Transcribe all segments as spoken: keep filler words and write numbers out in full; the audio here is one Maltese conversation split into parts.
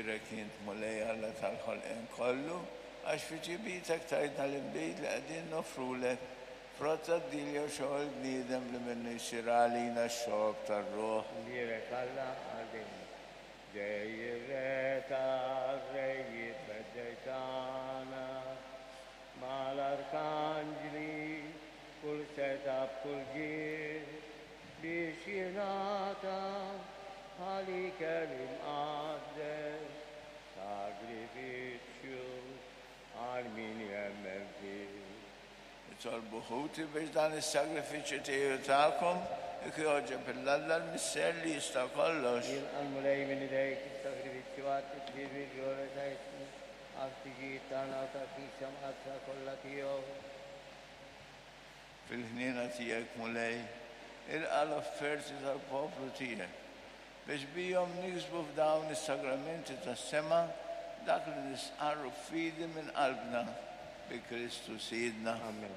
Imbierek int Mulej Alla tal-ħolqien kollu, għax fi tjibitek tajtna l-inbid li qegħdin noffrulek, frott tad-dinja u xogħol bniedem li minnu jsir għalina x-xorb tar-ruħ. Imbierek Alla għal dejjem. Ġej ir-Re tar-rejiet feddej tagħna, mal-arkanġli, kull seta b'kull ġieħ, biex jingħata bħal ikel imqaddes, sagrifiċċju għal min jemmen fih. Nitolbu ħuti biex dan is-sagrifiċċju tiegħi u tagħkom jogħġob 'il Alla l-Missier li jista' kollox. Jilqa' l-Mulej minn idejk is-sagrifiċċju għat-tifħir bil-glorja ta' ismu, għall-ħtiġijiet tagħna u tal-Knisja Mqaddsa kollha tiegħu. Fil-ħniena tiegħek Mulej, ilqa' l-offerti tal-poplu tiegħek biex bihom niksbu f'dawn is-sagramenti tas-sema dak li nistqarru f'fidi minn qalbna bi Kristu Sidna. Amen.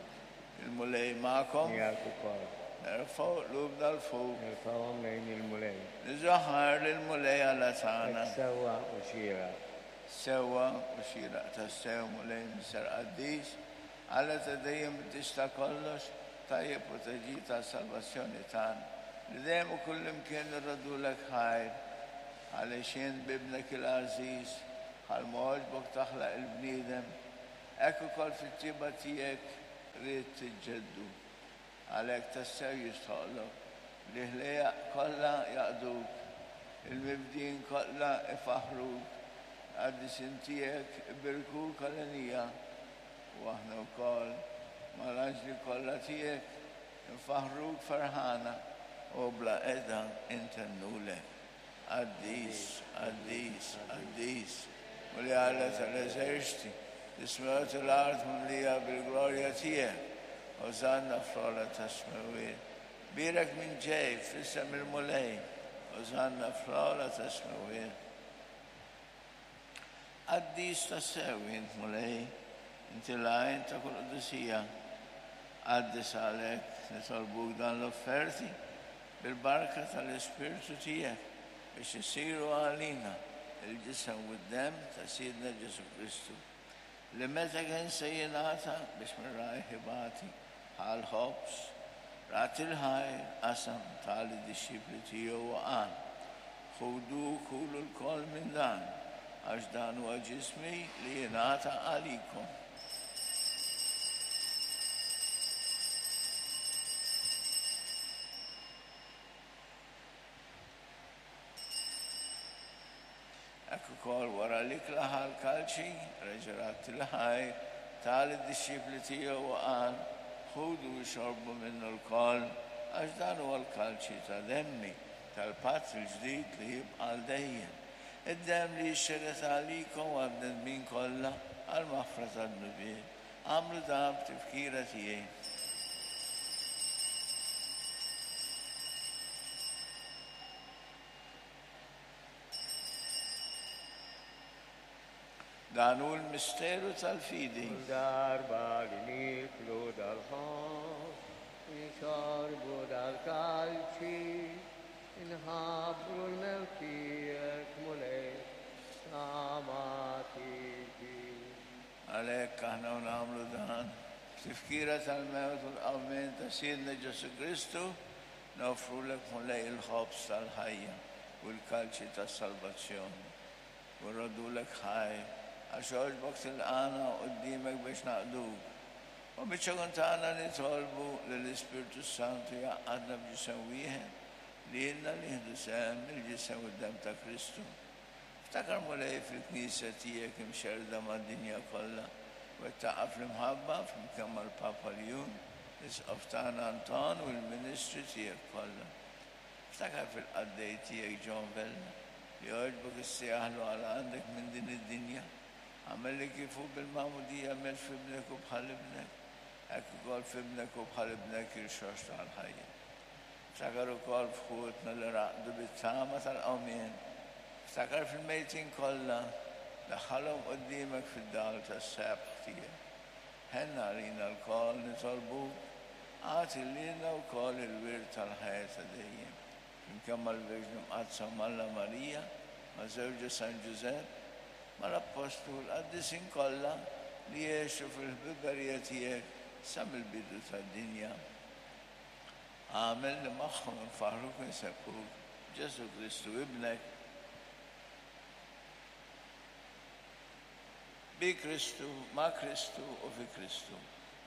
Il-Mulej magħkom. Miegħek ukoll. Nerfgħu qlubna 'l fuq. Nerfgħuhom lejn il-Mulej. Niżaħar lill-Mulej Alla tagħna. Hekk sewwa u xieraq. Sewwa u xieraq tassew Mulej Missier Qaddis, Alla ta' dejjem tista' kollox, tajjeb u taġid tas-salvazzjoni tagħna. Li dejjem u kullimkien nirrodulek ħajr, għaliex int b'ibnek il-għażiż, bħalma għoġbok taħlaq il-bniedem, hekk ukoll fit-tjieba tiegħek ridt tiġġeddu. Għalhekk tassew jistħoqlok li ħlejjaq kollha jaqduk, il-mibdin kollha ifaħruk, qaddisin tiegħek ibirkuk għalenija, u aħna wkoll mal-anġli kollha tiegħek infaħruk ferħana u bla qeda intennulek. Qaddis, qaddis, qaddis, Mulej Alla tal-eżerċti, is-smewwiet u l-art mimlija bil-glorja tiegħek. Osanna fl-ogħla tas-smewwiet. Bierek min ġej f'isem il-Mulej. Osanna fl-ogħla tas-smewwiet. Qaddis tassew int Mulej, inti l-għajn ta' kull qdusija. Qaddis għalhekk nitolbuk dan l-offerti bil-barka tal-Ispirtu tiegħek biex isiru għalina il-ġisem u d-demm ta' Sidna Ġesù Kristu, li meta kien se jingħata biex minn rajh ibati bħal ħobż, radd il-ħajr qasam ta lid-dixxipli tiegħu u qal: Ħudu kulu lkoll minn dan, għax dan huwa ġismi li jingħata għalikom. Hekk ukoll wara l-ikla ħa l-kalċi, reġa' radd il-ħajr, ta lid-dixxipli tiegħu u qal: Ħudu u xorbu minnu lkoll, għax dan huwa l-kalċi ta' demmi, tal-patt il-ġdid li jibqa' għal dejjem. Id-demm li jixxerred għalikom u għall-bnedmin kollha għall-maħfra tad-dnubiet. Agħmlu dan b'tifkira tiegħi. Dan hu l-misteru tal-fidi. Kull darba li nieklu dal-ħobż, nixorbu dal-kalċi, inħabbru l-mewt tiegħek, Mulej, sa ma tiġi. Għalhekk aħna u nagħmlu dan b'tifkira tal-mewt u l-qawmien ta' Sidna Ġesù Kristu, noffrulek Mulej il-ħobż tal-ħajja u l-kalċi tas-salvazzjoni. U nroddulek ħajr għax għoġbok tilqagħna quddiemek biex naqduk. U biċ-ċokon tagħna nitolbu li l-Ispirtu Santu jgħaqqadna b'ġisem wieħed li ilna nieħdu sehem mill-ġisem u d-demm ta' Kristu. Ftakar Mulej fil-Knisja tiegħek imxerrda mad-dinja kollha, wettaqha fl-imħabba flimkien mal-Papa Ljun, l-Isqof tagħna Anton u l-ministri tiegħek kollha. Ftakar fil-qaddej tiegħek John Vella, li għoġbok issejjaħlu għal għandek minn din id-dinja. Agħmel li kif hu bil-magħmudija miet f'ibnek u bħal ibnek, hekk ukoll f'ibnek u bħal ibnek irxoxta għall-ħajja. Ftakar ukoll f'ħutna li raqdu bit-tama tal-qawmien. Ftakar fil-mejtin kollha, daħħalhom quddiemek fid-dawl tas-sebħ tiegħek. Ħenna għalina lkoll nitolbuk, agħti lilna wkoll il-wirt tal-ħajja ta' dejjem. Flimkien mal-Verġni Mqaddsa Malla Marija, ma' żewġha San Ġużepp, mal-Appostlu u l-qaddisin kollha li għexu fil-ħbiberija tiegħek sa mill-bidu tad-dinja. Agħmel li magħhom infaħħruk u nsebbħuk Ġesù Kristu ibnek. Bi Kristu, ma' Kristu u fi Kristu.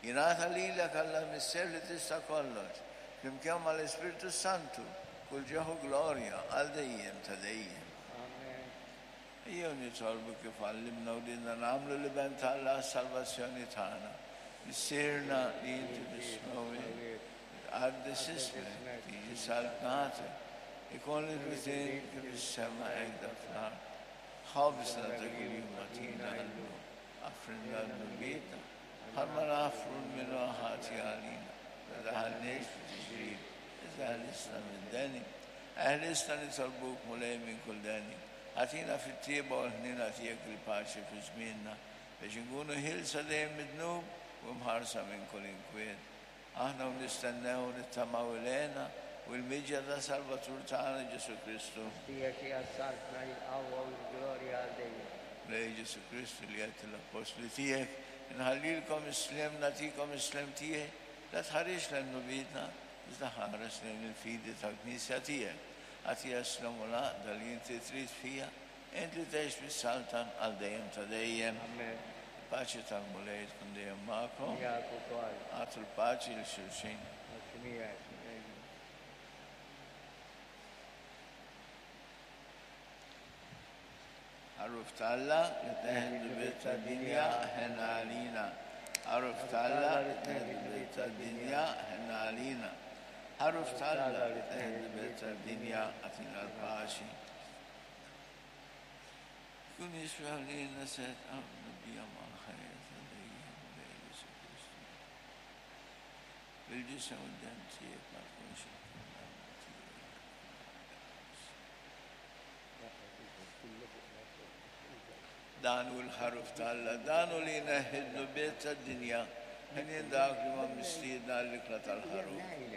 Jingħata lilek Alla Missier li tista' kollox, flimkien mal-Ispirtu Santu, kull ġieħ u glorja għal dejjem ta' dejjem. Amen. Ejjew nitolbu kif għallimna wliedna nagħmlu l-Iben t'Alla għas-salvazzjoni tagħna. Missierna li inti fis-smewwiet, tqaddes ismek, tiġi saltnatek, ikun li trid kif fis-sema hekk fl-art. Ħobżna ta' kuljum agħtina llum, aħfrilna dnubietna, bħalma naħfru lil min hu ħati għalina. La tdaħħalniex f'tiġrib, iżda eħlisna mid-deni. Eħlisna nitolbuk Mulej minn kull deni. Agħtina fit-tjieba u l-ħniena tiegħek il-paċi fi żmienna, biex inkunu ħielsa dejjem mid-dnub u mħarsa minn kull inkwiet. Aħna u nistennew u nittamaw il-hena u l-miġja ta' Salvatur tagħna Ġesù Kristu. Tiegħek hija s-saltna, il-qawwa u l-glorja għal dejjem. Mulej Ġesù Kristu li għedt l-appostli tiegħek, inħallilkom is-sliem, nagħtikom is-sliem tiegħi, la tħarisx lejn dnubietna, iżda ħares lejn il-fidi tal-Knisja tiegħek. Agħtiha s-sliem u l-għaqda li inti trid fiha, int li tgħix bis-saltan għal dejjem ta' dejjem. Amen. Paċi tal-Mulej tkun dejjem magħkom. Miegħek ukoll. Agħtu l-paċi lil xulxin. Grazzi miegħek. Ħaruf t'Alla li tneħħi d-dnubiet tad-dinja, ħenn għalina. Ħaruf t'Alla li tneħħi d-dnubiet tad-dinja, ħenn għalina. Ħaruf t'Alla li tneħħi d-dnubiet tad-dinja, agħtina l-paċi. Kun jiswa lilna set għabna bija mal-ħajja ta' dejjem, Mulej Ġesù Kristu. Bil-ġisem u d-demm tiegħek ma tkunx ikkundanna tiegħek. Dan hu l-ħaruf t'Alla, dan hu li jneħħi d-dnubiet tad-dinja, ħenjin dawk li huma mistiedna għall-ikla tal-ħaruf.